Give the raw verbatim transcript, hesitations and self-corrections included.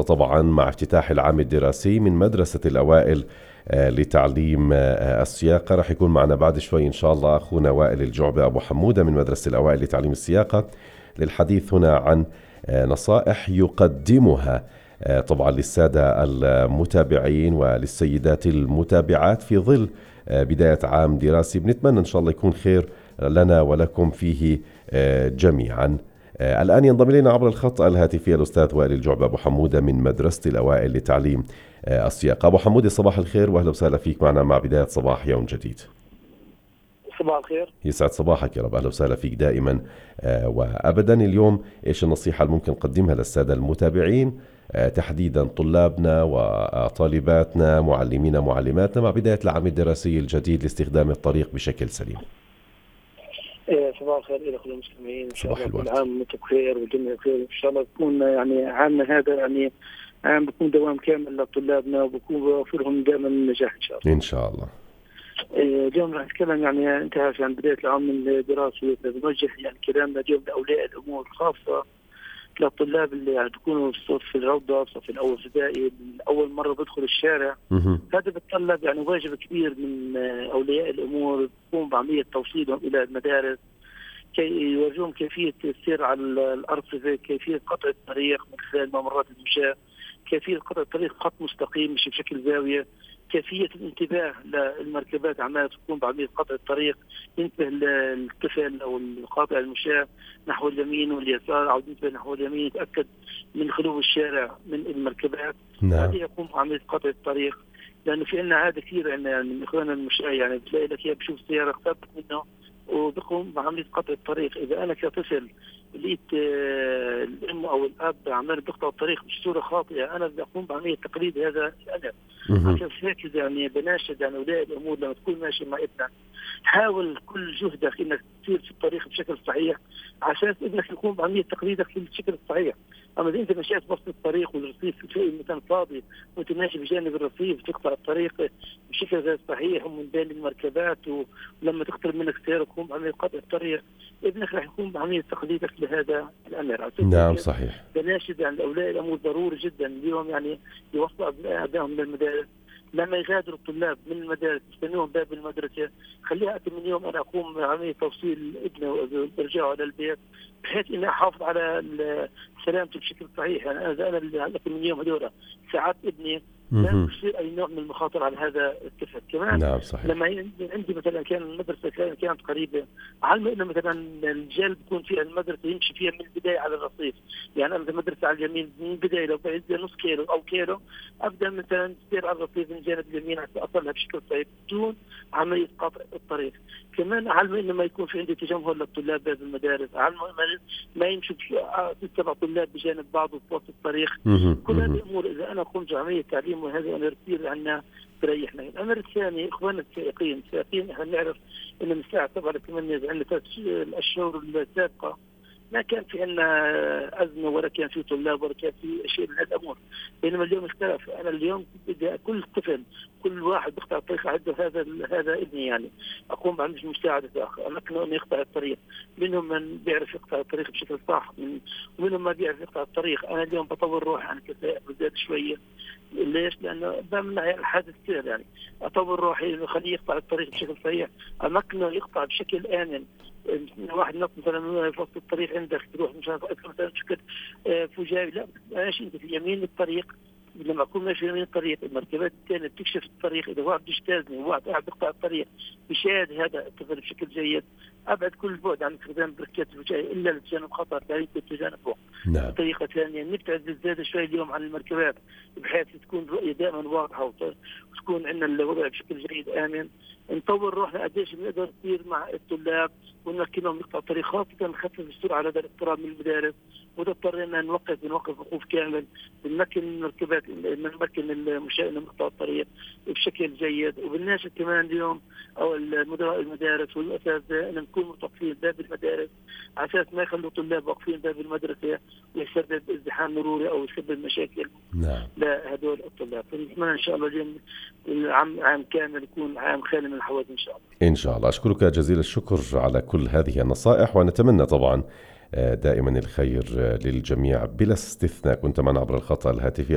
طبعا مع افتتاح العام الدراسي من مدرسة الأوائل آه، لتعليم آه، السياقة. رح يكون معنا بعد شوي إن شاء الله أخونا وائل الجعبة أبو حمودة من مدرسة الأوائل لتعليم السياقة للحديث هنا عن آه، نصائح يقدمها آه، طبعا للسادة المتابعين وللسيدات المتابعات في ظل آه، بداية عام دراسي بنتمنى إن شاء الله يكون خير لنا ولكم فيه آه، جميعا. آه، الآن ينضم إلينا عبر الخط الهاتفي الأستاذ وائل الجعبة أبو حمودة من مدرسة الأوائل لتعليم آه، السياقة. أبو حمودة صباح الخير وأهلا وسهلا فيك معنا مع بداية صباح يوم جديد. صباح الخير. يسعد صباحك يا رب، أهلا وسهلا فيك دائما آه، وأبدا. اليوم إيش النصيحة اللي ممكن نقدمها للسادة المتابعين آه، تحديدا طلابنا وطالباتنا معلمينا معلماتنا مع بداية العام الدراسي الجديد لاستخدام الطريق بشكل سليم؟ إيه، صباح الخير إلى كل المسلمين. إن شاء صباح الله كل الورد. عام وأنتم بخير والجميع بخير. إن شاء الله يكون يعني عامنا هذا يعني عام بيكون دوام كامل لطلابنا وبكون بوفر لهم دائما النجاح إن شاء الله. إن شاء الله. إيه، اليوم راح نتكلم يعني أنت عارف عن بداية العام الدراسي، بنوجه يعني كلامنا اليوم لأولياء الأمور خاصة للطلاب اللي يعني بيكونوا في الصف في الروضة في الصف الأول ابتدائي أول مرة بدخل الشارع. مهم. هذا بتطلب يعني واجب كبير من آه، أولياء الأمور تقوم بعملية توصيلهم إلى المدارس كي يورجون كيفية السير على الأرصفة، كيفية قطع الطريق من خلال ممرات المشاة، كيفية قطع الطريق خط مستقيم مش بشكل زاوية، كيفية الانتباه للمركبات عمالة تكون بعملية قطع الطريق، ينتبه الطفل أو القاطع المشاة نحو اليمين واليسار أو ينتبه نحو اليمين، يتأكد من خلو الشارع من المركبات. نعم. هذه يقوم بعملية قطع الطريق، لأنه في عنا عادة كثير عنا يعني من إخواننا المشاة يعني بتلاقي لك إياه بشوف سيارة اقتربت منه وبقوم بعملية قطع الطريق. إذا أنا كطفل لقيت آه، الأم أو الأب عمال بيقطعوا الطريق بصورة خاطئة، أنا بدي أقوم بعملية تقليد هذا الأمر. مهم. عشان هيك يعني بناشد يعني أولياء الأمور لما تكون ماشي مع ابنك حاول كل جهدك إنك تسير في الطريق بشكل صحيح عشان ابنك يكون بعملية تقليدك في الشكل الصحيح. أما إذا أنت مشيت بوسط الطريق والرصيف في مكان فاضي وأنت ماشي بجانب الرصيف تقطع الطريق بشكل غير صحيح ومن بين المركبات، ولما تقترب منك سيارة يكون بعملية قطع الطريق، ابنك راح يكون بعملية تقليدك لهذا الأمر. عشان نعم هيك صحيح. بناشد يعني أولياء الأمور ضروري جدا اليوم يعني يوصلوا أبنائهم للمدارس. لما يغادروا الطلاب من المدارس يستنوهم باب المدرسة، خليها أكثر من يوم أنا أقوم بعملية توصيل ابنه وإرجاعه على البيت بحيث إني أحافظ على ال- سلامته بشكل صحيح. يعني أنا أنا اللي أكثر من يوم هذول ساعات ابني لا مهم. يصير أي نوع من المخاطر على هذا الطفل. كمان نعم صحيح. لما ي- عندي مثلا كان المدرسة كان- كانت قريبة، علم إنه مثلا الرجال بيكون فيها المدرسة يمشي فيها من البداية على الرصيف. يعني أنا المدرسة على اليمين من البداية لو بعيد نص كيلو أو كيلو أبدأ مثلا تسير على الرصيف من جانب اليمين حتى أصلها بشكل صحيح بدون عملية قطع الطريق. كمان علم إنه ما يكون في عندي تجمهر للطلاب بهذه المدارس، علم ما- ما يمشوا سبع طلاب بجانب بعض في وسط الطريق. مهم. كل هذه مهم. الامور اذا انا قمت بعمليه تعليم وهذا امر كثير عنا تريحنا. الامر الثاني اخواننا السائقين، السائقين احنا بنعرف انه من الساعه سبعة ل ثمانية عندنا ثلاث الاشهر السابقه ما كان في عندنا ازمه ولا كان في طلاب ولا كان في شيء من هذه الامور، بينما اليوم اختلف. انا اليوم بدي كل طفل كل واحد بيقطع الطريق عنده هذا هذا ابني يعني اقوم بعمليه مساعده اخر امكنه انه يقطع الطريق. منهم من بيعرف يقطع الطريق بشكل صح من ومنهم ما بيعرف يقطع الطريق. انا اليوم بطور روحي عن كسائق بزيادة شويه. ليش؟ لانه بمنع الحادث كثير يعني اطور روحي انه خليه يقطع الطريق بشكل صحيح، امكنه يقطع بشكل امن. واحد نط مثلا في وسط الطريق عندك تروح مشان مثلا شكل آه، فجائي، لا ماشي انت في يمين الطريق. لما اكون ماشي في يمين الطريق المركبات الثانيه بتكشف الطريق، اذا واحد بيجتازني وواحد قاعد بيقطع الطريق بيشاهد هذا الطفل بشكل جيد، ابعد كل البعد عن استخدام بركات الفجائيه الا لتجنب خطر لا يمكن تجنبه. نعم. بطريقه ثانيه نبتعد بالزياده شوي اليوم عن المركبات بحيث تكون الرؤيه دائما واضحه وت- وتكون عندنا الوضع بشكل جيد امن. نطور روحنا قديش بنقدر نصير مع الطلاب ونمكنهم يقطعوا الطريق، خاصه نخفف السرعه لدى الاقتراب من المدارس، واذا اضطرينا نوقف بنوقف وقوف كامل، بنمكن المركبات بنمكن المشاة انهم يقطعوا الطريق بشكل جيد. وبالناشد كمان اليوم او المدراء المدارس والاساتذه ان نكون متوقفين باب المدارس على اساس ما يخلوا طلاب واقفين باب المدرسه ويسبب ازدحام مروري او يسبب مشاكل نعم. لهدول الطلاب. فنتمنى ان شاء الله اليوم العام عام كامل يكون عام خالي من الحوادث ان شاء الله. إن شاء الله. أشكرك جزيل الشكر على كل هذه النصائح ونتمنى طبعا دائما الخير للجميع بلا استثناء. كنت معنا عبر الخط الهاتفي